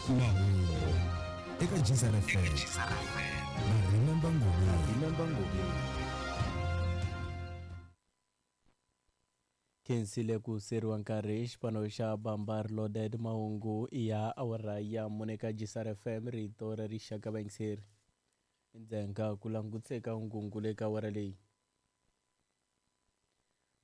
Mahungu eka Jizara FM na Remember Ngobeni. Khensile ku seriwa nkarhi xipano xa Bambar Loaded mahungu ya awara ya mune ka Jisar FM rito ra rixaka vayingiseri ndzhenga ku langutise ka ngungu le ka awara leyi.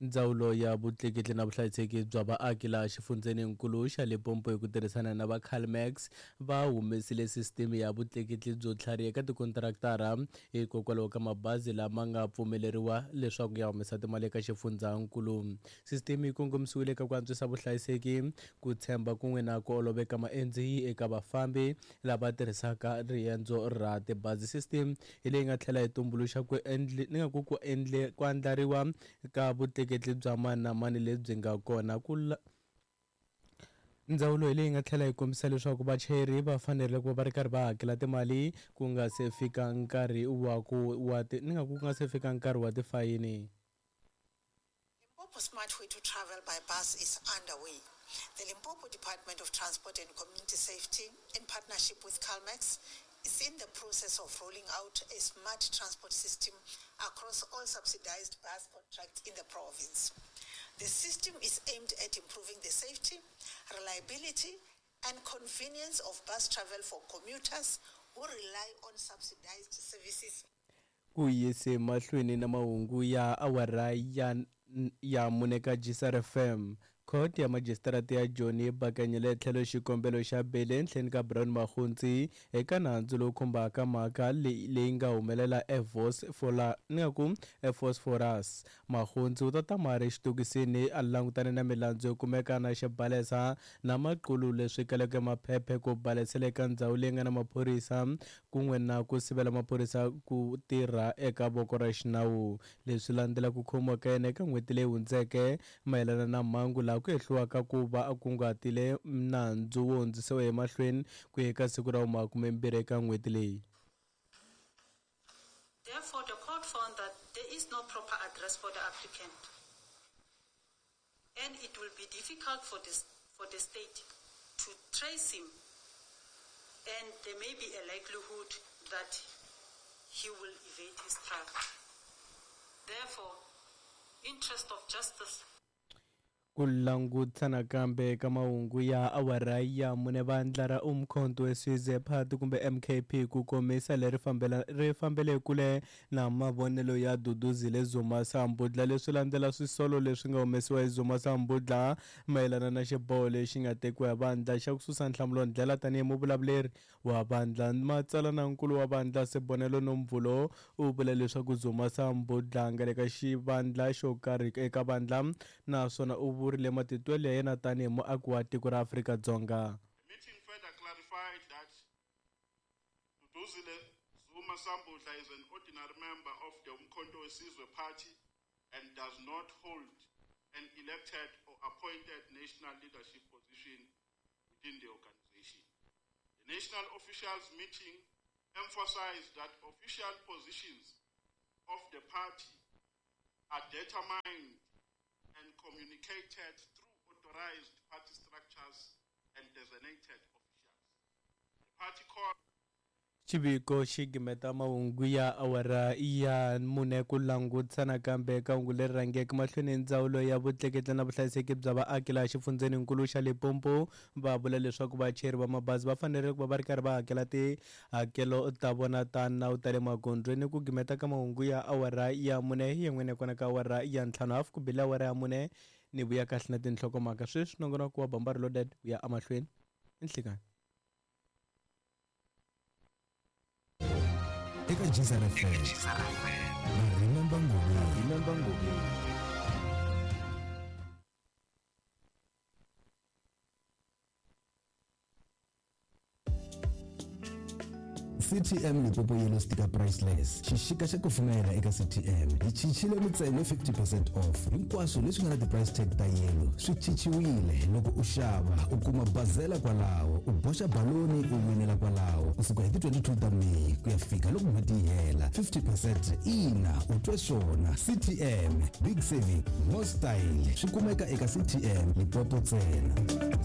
Ndzawulo ya vutleketli na vuhlayiseki bya vaaki laha xifundzheninkulu xa Limpopo hi ku tirhisana na va Calmax va humesile sisiteme ya vutleketli byo tlhariha eka tikontraktara hikokwalaho ka mabazi lama nga pfumeleriwa leswaku ya humesa timali eka xifundzhankulu. Sisiteme yi kongomisiwile eka ku antswisa vuhlayiseki, ku tshemba kun'we na ku oloveka maendzi eka vafambi lava tirhisaka riendzo ra tibazi. Sisiteme hi leyi nga tlhela yi tumbuluxa ku endli ni nga ku ku endle ku andlariwa ka vutleketli bya mani na mani lebyi nga kona ku Ndzawulo hi leyi nga tlhela yi kombisa leswaku vachayeri va fanerile ku va va ri karhi va hakela timali ku nga se fika nkarhi wa ku wa ti ni nga ku ku nga se fika nkarhi wa tifayini. Limpopo Smart Way to Travel by Bus is underway. The Limpopo Department of Transport and Community Safety, in partnership with CalMax, is in the process of rolling out a smart transport system across all subsidized bus contracts in the province. The system is aimed at improving the safety, reliability, and convenience of bus travel for commuters who rely on subsidized services. Ku yise mahlweni na mahungu ya awara ya ya mune ka Jisar FM. Khoto ya Majisitarata ya Joni yi bakanyile etlhelo xikombelo xa beli ehenhleni ka Brown Makgontsi eka nandzu lowu khumbaka mhaka leyi leyi nga humelela ni nga ku eVosphorus. Makgontsi u ta tama a ri exitokisini a langutane na milandzu yo kumeka na xibalesa na maqulu leswi kaleke maphephe ku balesela eka ndzhawu leyi nga na maphorisa kun'we na ku sivela maphorisa ku tirha eka voko ra xinawu. Leswi landzela ku khomiwa ka yena eka n'hweti leyi hundzeke mayelana na mhangu laha ku hehliwaka ku va a kunguhatile nandzu wo hundzisiwa emahlweni ku ya eka siku ra vumakumembirhi eka n'hweti leyi. Therefore, the court found that there is no proper address for the applicant and it will be difficult for the, for the state to trace him and there may be a likelihood that he will evade his trial. Therefore, interest of justice Ku langutisa nakambe ka mahungu ya awara ya mune vandla ra Umkhonto weSizwe Party kumbe MKP ku komisa leri fambela ri fambele kule na mavonelo ya Duduzile Zuma Sambudla leswi landzela swisolo leswi nga humesiwa hi Zuma Sambudla mayelana na xiboho lexi nga tekiwa hi vandla xa ku susa Nhlamulo Ndlela tanihi muvulavuleri wa vandla. Matsalanankulu wa vandla Sibonelo Nomvulo u vule leswaku Zuma Sambudla a nga le ka xivandla xo karhi eka vandla naswona u vurile matitwelo ya yena tanihi muaki wa tiko ra Afrika-Dzonga. The meeting further clarified that Duduzile Zuma Sambudla is an ordinary member of the Umkhonto weSizwe Party and does not hold an elected or appointed national leadership position within the organization. The national officials meeting emphasized that official positions of the party are determined and communicated through authorized party structures and designated officials. The party called Xiviko xi gimeta mahungu ya awara ya mune ku langutisa nakambe eka hungu leri rhangeke mahlweni ndzawulo ya vutleketli na vuhlayiseki bya vaaki laha xifundzheninkulu xa Limpopo va vula leswaku vachayeri va mabazi va fanerile ku va va ri karhi va hakela tihakelo ta vona ta nawu ta le magondzweni ku gimeta ka mahungu ya awara ya mune yin'wana kona ka awara ya ntlhanu hafu ku bile awara ya mune ni vuya kahle na tinhlokomhaka sweswi nongonoko wa Bambari Loaded wu ya emahlweni i nhlikani. Eka Jizar FM na Remember Ngobeni. Remember Ngobeni. CTM Limpopo Yellow Sticker Priceless xixika xa kufumela eka CTM hi chichile mintsengo 50% off hinkwaswo leswi nga na ti-price tag ta yellow swi chichiwile loko u xava u kuma bazela kwalaho u boxa baloni u winela kwalaho kusuka hi ti-22 ta Meyi ku ya fika loko n'hweti yi hela 50% ina u twe swona CTM big saving more style swi kumeka eka CTM Limpopo ntsena.